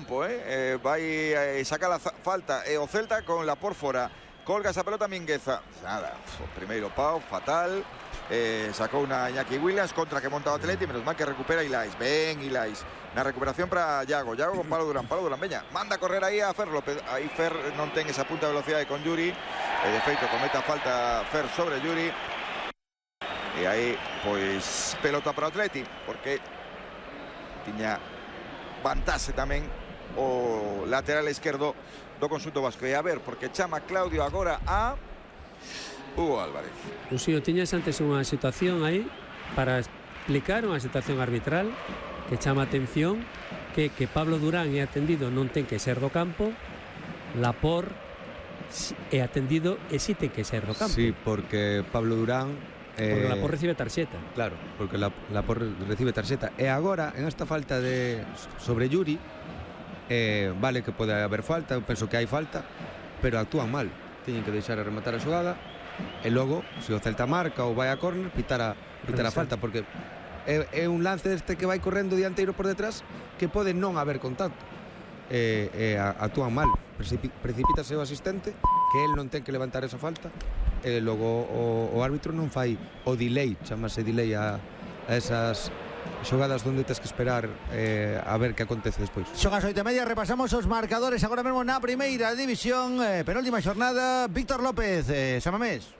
campo, vai sacar a falta o Celta con la por fora. Colga esa pelota Mingueza. Nada, o primeiro pau, fatal. Sacou una Iñaki Williams contra que monta o Atleti, menos mal que recupera Ilais. Ben Ilais. Na recuperación para Yago con Pablo Durán, veña, manda a correr aí a Fer López. Aí Fer non ten esa punta de velocidade con Yuri. De feito comete a falta Fer sobre Yuri. E aí, pois, pelota para o Atleti, porque tiña vantaxe tamén o lateral esquerdo do conxunto vasco. E a ver, porque chama Claudio agora a Hugo Álvarez. Uxío, tiñas antes unha situación aí para explicar unha situación arbitral que chama a atención, que Pablo Durán é atendido non ten que ser do campo, Lapor é atendido e si ten que ser do campo. Sí, porque Pablo Durán porque Lapor recibe tarxeta. Claro, porque Lapor recibe tarxeta. E agora, en esta falta sobre Yuri, vale que pode haber falta, eu penso que hai falta, pero actúan mal. Teñen que deixar a rematar a xogada e logo, se o Celta marca ou vai a córner, pitar a falta, porque é un lance deste que vai correndo o dianteiro por detrás que pode non haber contacto. Actúan mal, precipítase o asistente, que el non ten que levantar esa falta, e logo o árbitro non fai o delay, chamase delay a esas xogadas onde tens que esperar a ver que acontece despois. Son as 8:30, repasamos os marcadores agora mesmo na primeira división, penúltima xornada. Víctor López, Samamés.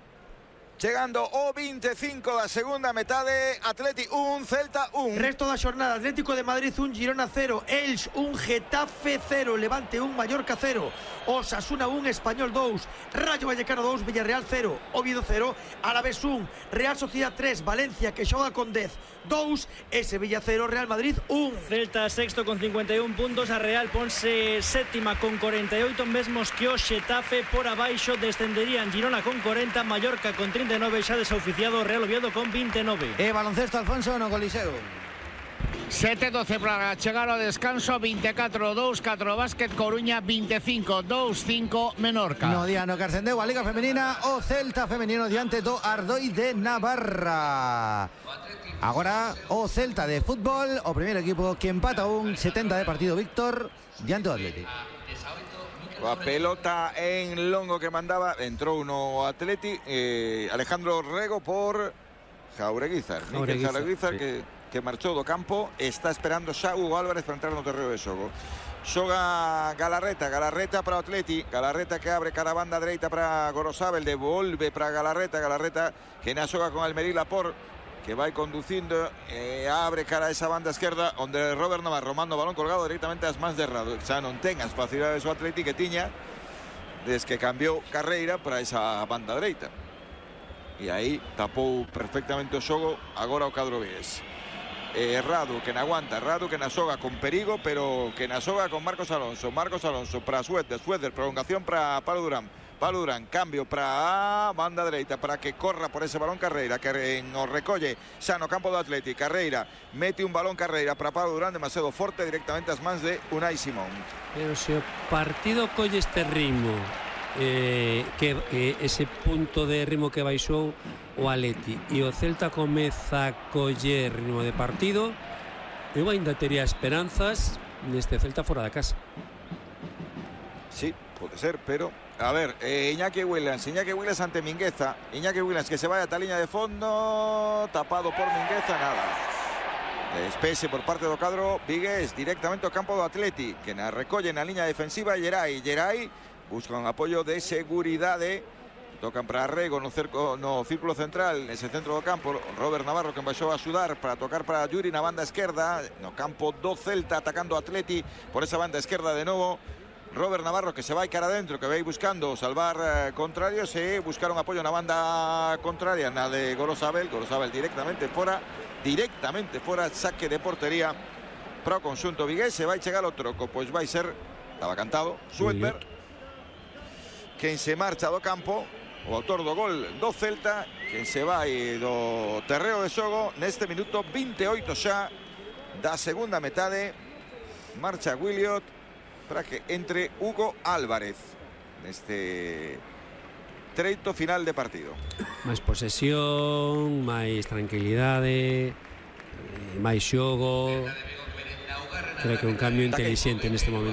Chegando o 25 da segunda metade, Atleti 1, Celta 1. Resto da xornada, Atlético de Madrid 1, Girona 0, Elx 1, Getafe 0, Levante 1, Mallorca 0, Osasuna 1, Español 2, Rayo Vallecano 2, Villarreal 0, Oviedo 0, Alavés 1, Real Sociedad 3, Valencia que xoga con 10 2, Sevilla 0, Real Madrid 1. Celta sexto con 51 puntos, a Real ponse séptima con 48, mesmos que o Xetafe. Por abaixo descenderían Girona con 40, Mallorca con 39, xa desoficiado Real Oviedo con 29. Baloncesto, Alfonso, no Coliseo. 7-12 para chegar ao descanso, 24-2, 4 básquet, Coruña 25, 2-5 Menorca. No día no que ascendeu a Liga Femenina, o Celta femenino diante do Ardoi de Navarra. Agora o Celta de fútbol, o primeiro equipo que empata un 70 de partido, Víctor, diante do Atleti. A pelota en longo que mandaba, entrou no Atleti, Alejandro Rego por Jaureguizar. Jaureguizar sí. que marchou do campo, está esperando xa Hugo Álvarez para entrar no terreo de xogo. Xoga Galarreta para o Atleti, Galarreta que abre cara a banda dereita para Gorosabel, devolve para Galarreta que na xoga con Almería Lapor, que vai conducindo, abre cara a esa banda esquerda onde Robert Navarro manda o balón colgado directamente ás mans de Rado. Xa non ten as facilidades o Atleti que tiña desde que cambiou Carreira para esa banda dereita, e aí tapou perfectamente o xogo agora o cadro vigués. Radu que na aguanta, Radu que na xoga con perigo, pero que na xoga con Marcos Alonso para Suéter, prolongación para Pablo Durán, cambio para a banda dereita para que corra por ese balón Carreira, que nos recolle xa no campo do Atleti. Carreira mete un balón Carreira para Pablo Durán, demasiado forte, directamente ás mans de Unai Simón. Pero se o partido colle este ritmo, que ese punto de ritmo que baixou o Atleti, e o Celta comeza a coller ritmo de partido, eu ainda tería esperanzas neste Celta fora da casa. Sí, pode ser, pero a ver, Iñaki Williams ante Mingueza. Iñaki Williams que se vai ata a liña de fondo, tapado por Mingueza, nada. Despese por parte do cadro vigués directamente ao campo do Atleti, que na recolle na liña defensiva Gerai busca un apoio de seguridade. Tocan para Rego no círculo central, nese centro do campo. Robert Navarro que baixou a axudar para tocar para Yuri na banda esquerda, no campo do Celta atacando o Atleti por esa banda esquerda de novo. Robert Navarro que se vai cara adentro, que vai buscando salvar contrarios e buscar un apoio na banda contraria, na de Gorosabel directamente fora, saque de portería para o conxunto vigués. Se vai chegar o troco, pois vai ser, estaba cantado, Suéter, quen se marcha do campo, o autor do gol do Celta, quen se vai do terreo de xogo neste minuto 28 xa da segunda metade. Marcha Williot para que entre Hugo Álvarez neste treito final de partido. Máis posesión, máis tranquilidade, máis xogo. Creo que un cambio inteligente neste momento.